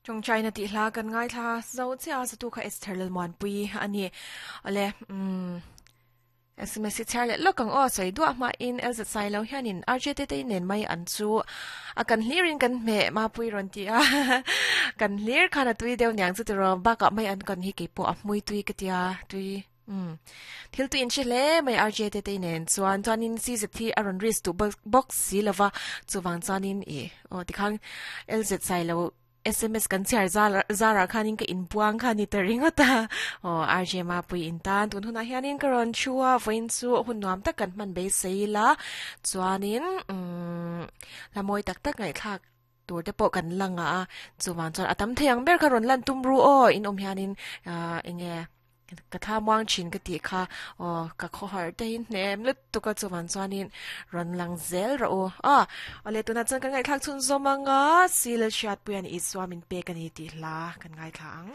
Tawngtaina tih hla kan ngaithla zo chiah a, zatu kha Esther Lalmuanpui a ni. Awle, umm, SMS hi chhiar leh lawk ang aw, sawi duah hmain LZ Sailo hianin RJ Tetei nen mai an chu a kan hlirin kan hmeh Mapui rawn ti a, kan hlir khan a tui deuh niang chu tiraw, bakah mai an kan hi keipawh a hmui tui ka tia, tui. Umm. Thil tu in hre hle mai RJ te te nen chuan chuanin CZ hi a rawn risk duh bawk si lova chuvang chuanin i aw tikhan LZ Sailo SMS kan chhiar zarah khanin ka inpuang kha ni ta ringawt a aw RJ Mapui in tan tun hunah hianin ka rawn thu a vawiin chu hun nuam tak kan hman beisei ila chuanin umm hla mawi tak tak ngaihthlak Tur te pawh kan lang a, chuvang chuan a tam thei ang ber kha rawn lan tum ru aw, in awm hianin ahh eng nge ka tha muang thin ka tih kha aw ka khawhar te hi hnem lutuk a chuvang chuanin rawn lang zel rawh u aw. Awle tunah chuan kan ngaihthlak chhunzawm ang a, Sil Hriatpuia'n Isua min pek a ni tih hla kan ngaithla ang.